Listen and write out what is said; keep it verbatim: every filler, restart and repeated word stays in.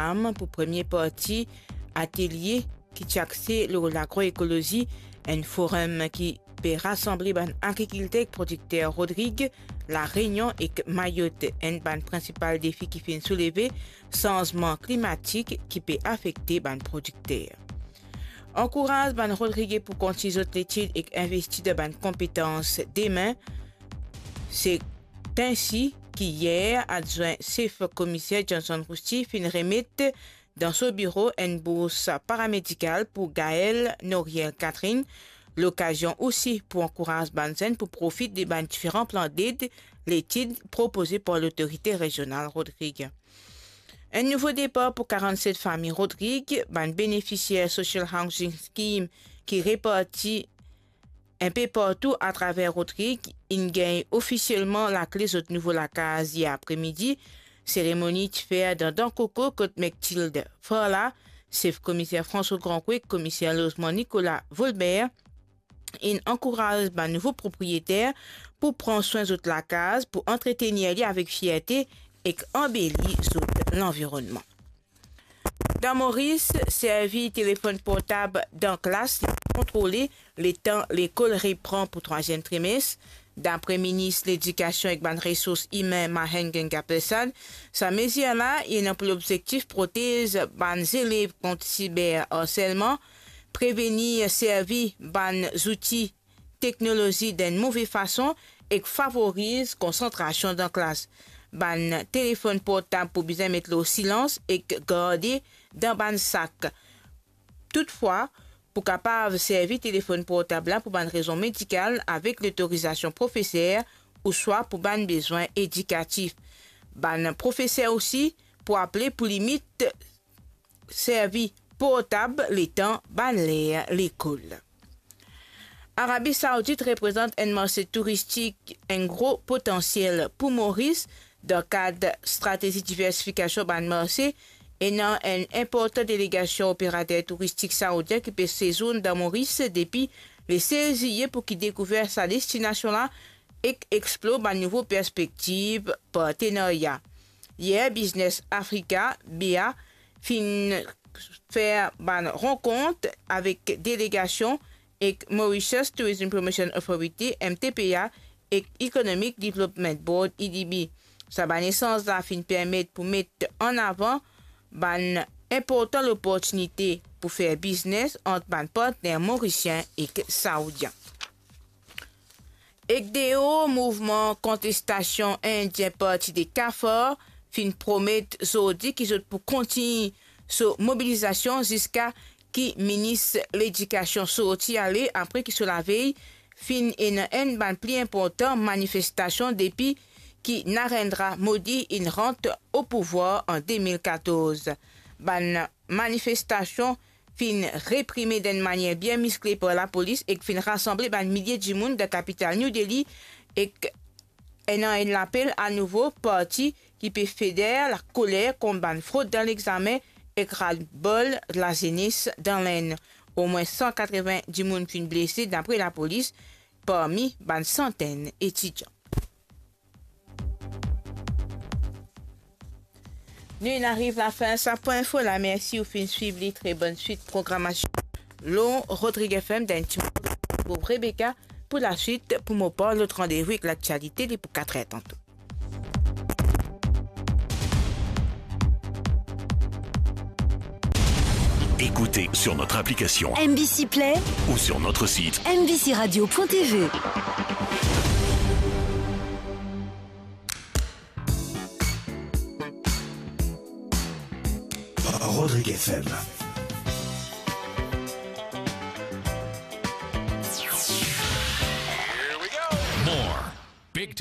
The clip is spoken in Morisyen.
Instagram pou premie parti atelye ki ti axe lor lagroekolozi, enn forum ki pe rasanble bann agrikilter ek prodikter Rodrig, La Reunion ek Mayotte. Enn bann prinsipal defi ki finn souleve, sanzman klimatik ki pe afekte bann prodikter. Ankouraz bann Rodrige pou kontign zot letid ek investi dan bann konpetans demin. Se ensi ki yer, adwin sef komiser Johnson Rousty finn remet dan so biro enn bours paramedikal pou Gaël Noriel Catherine, lokazion osi pou ankouraz bann zenn pou profit de bann diferan plan ded letid propoze par Lotorite Rezional Rodrig. Enn nouvo depar pou karannset fami Rodrig, bann benefisier Social Housing Scheme ki reparti enpe partou atraver Rodrig inn gagn ofisielman lakle zot nouvo lakaz yer apremidi. Seremoni ti fer dan Dan Koko kot Mektilde Farla, sef komiser François Grandcou, komiser lozman Nicolas Volbert, inn ankouraz bann nouvo propriyeter pou pran swin zot lakaz, pou antretenir li avek fierte ek anbeli zot lanvironnman. Dan Moris, servi telefonn portab dan klas kontrole letan lekol repran pou trwaziem trimes. Dapre minis Ledikasion ek bann resours imin Mahen Gangapesad, sa mezir la ena pou lobzektif protez bann zelev kont siber arselman, prevenir servi bann zouti teknolozi dan enn move fason ek favoriz konsantrasion dan klas. Bann telefonn portab pou bizin met lor silans ek garde dan bann sak. Toutfwa, pou kapav servi telefonn portab la pou bann rezon medikal avek lotorizasion profeser ouswa pou bann bezwin edikatif. Bann profeser osi pou aple pou limit servi portab letan bann ler lekol. Arabi Saoudit reprezant enn marse touristik enn gro potansiel pou Moris. Dan kad stratezi diversifikasion bann marse, ena enn inportan delegasion operater touristik saoudien ki pe sezourn dan Moris depi le sez zilye pou ki dekouver sa destinasion la ek explor bann nouvo perspektiv partenarya. Yer, Business Africa, B A, finn fer bann rankont avek delegasion ek Mauritius Tourism Promotion Authority, M T P A, ek Economic Development Board, E D B. Sa bann esanz la finn permet pou met an avan bann inportan loportinite pou fer biznes ant bann partner morisien ek saoudien. Ek deor, mouvman kontestasion indien parti de CAFAR finn promet zordi ki zot pou kontign so mobilizasion ziska ki minis ledikasion sorti ale, apre ki so lavey finn ena enn bann pli inportan manifestasion depi ki Narendra Modi inn rant o pouvwar an de mil katorz. Bann manifestasion finn reprime dan enn manier bien miskle par lapolis ek finn rasanble bann milie dimoun dan kapital New Delhi, ek ena enn lapel anouvo parti ki pe feder lakoler kont bann frod dan lexamen ek ras-le-bol lazenes dan Lenn. Omwin san katreven dimoun finn blese, dapre lapolis, parmi bann santenn etidian. Nou inn ariv lafin sa pwin info la. Mersi ou finn swiv li. Tre bonn swit programasion lor Rodrig F M. Dan enn ti moman, Rebecca pou laswit, pou mo par lot randevou ek laktialite, li pou kat er tanto. Écoutez sur notre application M B C Play ou sur notre site M B C radio point T V. Rodrig F M.